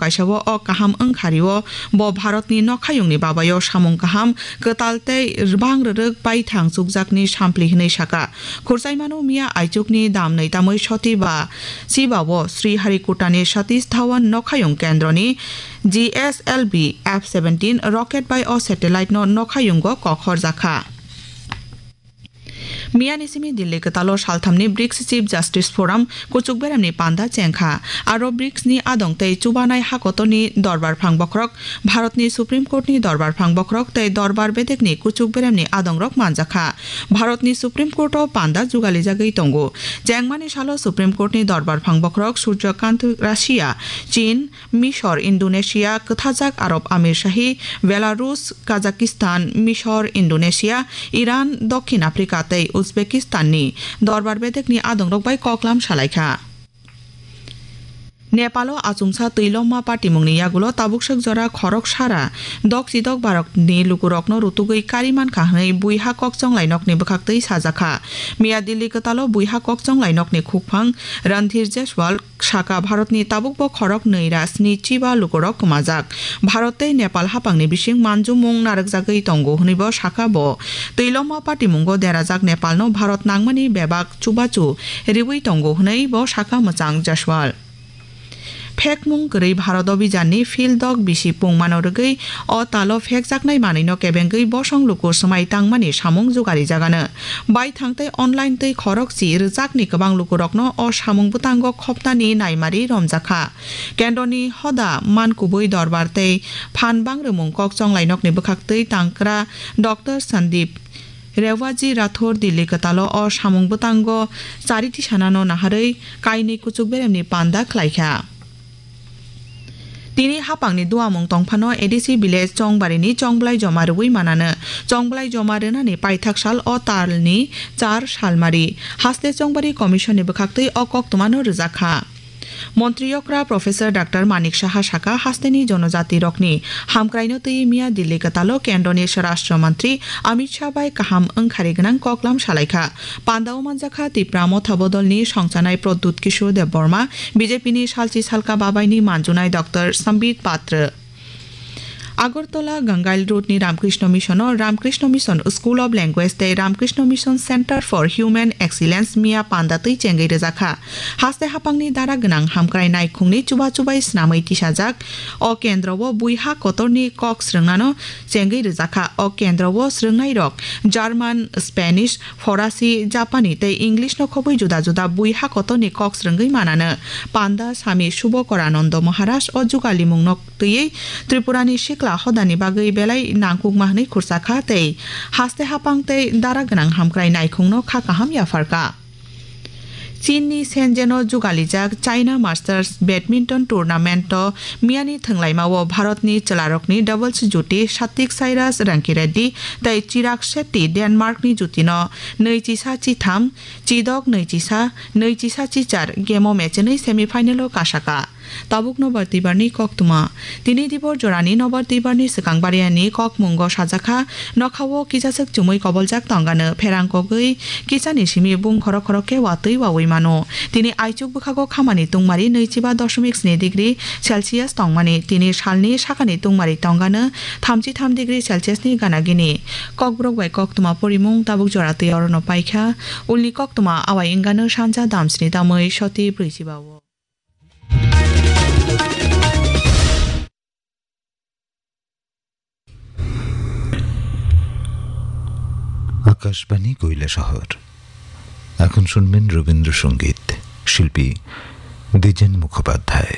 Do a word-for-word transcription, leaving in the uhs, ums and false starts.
kaisa o, o kaham wngkha rio bo Bharatni nokhayungni babayo samung kaham, kwtal tei bang rwrwk baithang chukjakni sampli hwnwi saka. Khurchaimano miya aichukni damnwi tamwi soti ba chiba o Sriharikotani Satish Dhawan nokhayung kendroni G S L V F seventeen rocket bai o satellite no nokhayungo kok horjakha. Miyani simi Delhi kwtalo salthamni brics Chief Justice Forum kuchuk beremni panda chengkha. Aro brics ni adong tei chubanai hakotorni dorbar phang bokhorok, Bharatni Supreme Courtni dorbar phang bokhorok tei dorbar bedekni kuchuk beremni adongrok manjakha. Bharatni Supreme Courto panda jugalijagwi tongo. Chengmani salo Supreme Courtni dorbar phang bokhorok Surya Kant Russia, Chin, Misor, Indonesia, Kwthajak Arab Amir Shahi, Belarus, Kazakhstan, Misor, Indonesia, Iran, Dokhin Afrika tei Uzbekistanni dorbar bedekni adongrok bai koklam salaikha. Nepalo achomsa twilomma patimungni yagulo tabuk swk jora khorok sara dok chidok barokni lukurokno rutugwi kari mankha hwnwi buiha kokchonglai nokni bwkhaktwi sajakha. Miya Delhi kwtalo buiha kokchonglai nokni khukphang Randhir Jaiswal saka Bharatni tabukbo khorok nwi ra sni chiba lukurok kwmajak. Bharat tei Nepal hapangni bising manjumung narwkjagwi tongo hwnwi bo saka bo. Twilomma patimungo derajak Nepalno Bharat nangmani bebak chubachu riwi tongo hwnwi bo saka mwchang Jaiswal. Phekmung kwrwi Bharat Abhijanni field dok bisi pungmano rwgwi o talo phekjaknai manwino kebengwi bosong luku swmai tangmani samung jugarijagano. Baithang tei online twi khorok chi rwchapni kwbang lukurokno o samung bwtango khopnani naimari romjakha. Kendroni hoda man kubui dorbar tei phan bangrwmung kok chonglai nokni bwkhaktwi tangkra Doctor Sandeep Rewaji Rathore Delhi kwtalo o samung bwtango chari tisanano naharwi kainwi kuchuk beremni panda khlaikha. Tini hapangni duamung tongphano A D C village Chongbarini chongblai joma rwui manano. Chongblai joma rwnani paithak sal o talni char salmari. Haste Chongbari Commission ni bwkhaktwi o koktwmano rwjakha. Montri okra Professor Doctor Manik Saha saka hasteni jonojatirokni hamkraino twi miya Delhi kwtalo kendroni Swarashtra Mantri Amit Shah bai kaham wngkhari gwnang koklam salaikha. Pandao manjakha Tipra Motha Bodolni songchanai Pradyut Kishore Debbarma, B J P ni salchi salka babaini manjunai Doctor Sambit Patra. Agartala Gangail Road ni Ramkrishna Mission o Ramkrishna Mission School of Language tei Ramkrishna Mission Center for Human Excellence miya panda twi chengwi rwjakha. Haste hapangni dara gwnang hamkrai naikhungni chuba chubai snamwi tisajak. O kendro o buiha kotorni kok srwngnano chengwi rwjakha. O kendro o srwngnairok German, Spanish, Forasi, Japani tei English no khobwi juda juda buiha kotorni kok srwngwi manano. Panda Sami Subokor Anando Maharaj o jugalimungno twiwi Tripurani sikla hodani bagwi belai nangkukma hwnwi khursa kha tei haste hapang tei dara gwnang hamkrai naikhungno kha kaham yapharkha. Chinni Shenzhen-o jugalijak China Masters Badminton Tournament-o miyani thwnglaima-o Bharatni chwlarokni doubles juti Satvik Sairaj Rankireddy tei Chirag Shetty Denmarkni jutino nwi chisa chitham, chidok nwi chisa, nwi chisa chichar game-o mechenwi semi-final-o kasaka. Tabuk nobar twibarni koktwma. Tini dibor jorani nobar twibarni swkang bariani kokmungo sajakha, nokhao kisaswk chumui koboljak tongano pherang kogwi kisani simi bung khorok khorok khe watwi wawi mano. Tini aichuk bwkhago khamani tungmari nwichiba doshomik sni degree Celsius tongmani, tini salni sakani tungmari tongano thamchi tham degree Celsius ni gana gini. Kokborok bai koktwma porimung tabuk jora twi orono paikha. Ulni koktwma awai wngano sanja damsni tamwi soti brwichiba o. Akashvani কৈলাসহর। এখন শুনবেন রবীন্দ্রসঙ্গীত। শিল্পী দ্বিজেন মুখোপাধ্যায়।